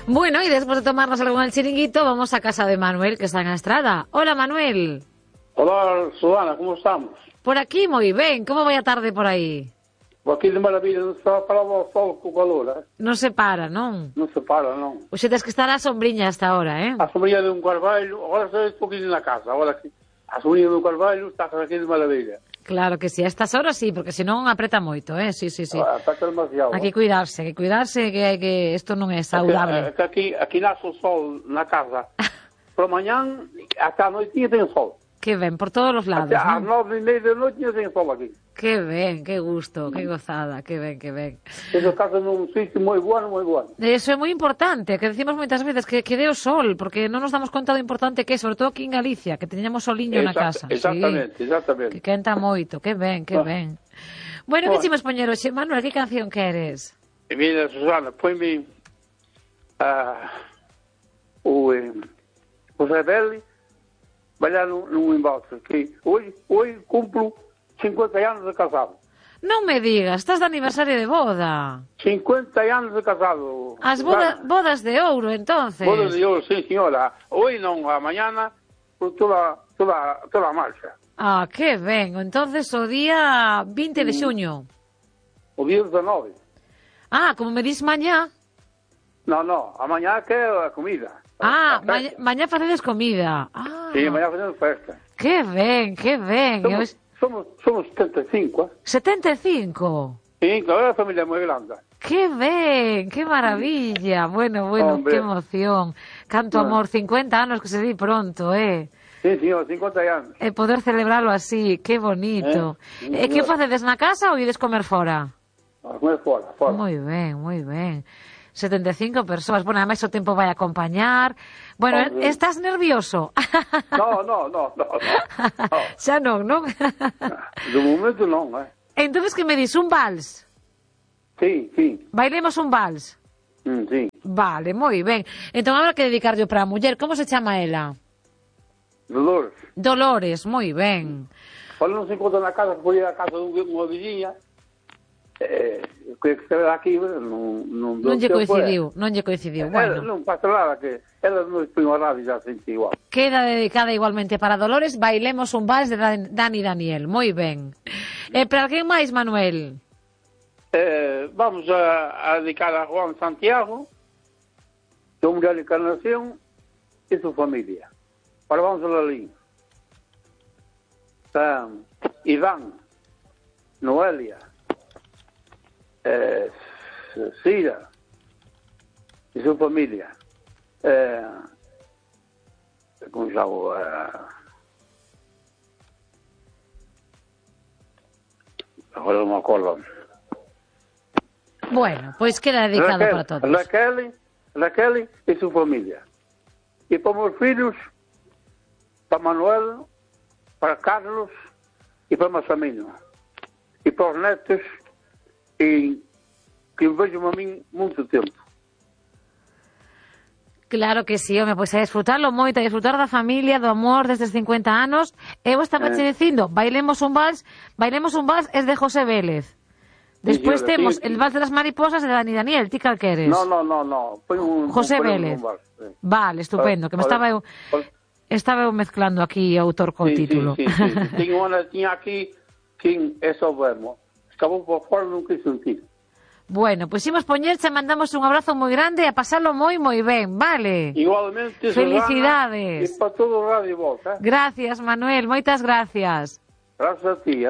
Bueno, y después de tomarnos algo en el chiringuito, vamos a casa de Manuel, que está en la estrada. Hola, Manuel. Hola, Susana, ¿cómo estamos? Por aquí, moi ben. Como vai a tarde por aí? Por aquí de maravilla, non se para o sol co calor, Non se para, non? Non se para, non. Oxe, tens que estar á sombriña hasta ahora, A sombrilla de un carvalho, agora se un poquinho na casa, agora que a sombrilla de un carvalho está aquí de maravilla. Claro que sí, a estas horas sí, porque senón apreta moito, Sí. Está demasiado. Hai que cuidarse, que isto non é saudable. Aquí nace o sol na casa. Por mañán, ata a noitinha ten sol. Que ben, por todos os lados, Ás non? 9:30 da noite ten sol aquí. Que ben, que gusto, que gozada, que ben. Tenho casa nun sitio moi bueno, moi bueno. Eso é moi importante, que decimos moitas veces que dé o sol, porque non nos damos conta do importante que é, sobre todo aquí en Galicia, que teñamos soliño na casa. Exactamente. Que quenta moito, que ben. Bueno, que chimos poñer hoxe, Manuel, que canción queres? E mira, Susana, ponme o Rebelde, bailar num embalse, que hoje cumplo 50 anos de casado. Non me digas, estás de aniversario de boda. 50 anos de casado. As bodas de ouro, entonces. Bodas de ouro, sí, señora. Hoy non, a mañana, por toda a marcha. Ah, que ben. Entonces o día 20 de xuño. O día 19. Ah, como me dis mañá. No, a mañá que é a comida. Mañá facedes comida. Ah. Sí, mañá facemos festa. Que ben. Somos 75, 75. Sí, claro, a familia é moi grande. Que ben, que maravilla. Bueno, Hombre. Que emoción. Canto amor, 50 anos que se di pronto, Sí, señor, 50 anos. E poder celebralo así, que bonito. E que facedes na casa ou ides comer fora? A comer fora. Moi ben. 75 persoas. Bueno, ademais o tempo vai a acompañar. Bueno, Hombre. estás nervioso? No. Xa non? De momento non, Entonces que me dis, un vals? Sí. Bailemos un vals? Sí. Vale, moi ben. Entón, habrá que dedicarlle para a muller. Como se chama ela? Dolores, moi ben. Quando non se encontra na casa, foi a casa dunha vizinha, que se ve aquí, non lle coincidiu. Bueno. Non pasa nada, que ela non foi unha radio já sente igual. Queda dedicada igualmente para Dolores. Bailemos un vals de Dani Daniel. Moi ben. E para alguén máis, Manuel? Vamos a dedicar a Juan Santiago, su Mundial de Encarnación e su familia. Ahora vamos a la línea. Iván, Noelia, Cira y su familia. ¿Cómo se llama? Ahora no me acuerdo. Bueno, pois queda dedicado para todos. Raquel y su familia. Y para meus filhos, para Manuel, para Carlos e para Massamino. E para os netos, e que vejam a mim muito tempo. Claro que sí, home, pois a disfrutarlo moito, a disfrutar da familia, do amor destes 50 anos. Eu estaba che dicindo, bailemos un vals es de José Vélez. Despois temos el vals de las mariposas de Dani Daniel, ti cal queres? No. José Vélez. Vale, estupendo, que me estaba eu mezclando aquí autor co título. Sí. Tiña aquí quen é sobermo. Acabou por fora, non quis sentir. Bueno, pois imos poñerche, mandamos un abrazo moi grande e a pasalo moi ben, vale? Igualmente, felicidades. E para todo o radio vos, Gracias, Manuel, moitas gracias. Gracias a ti,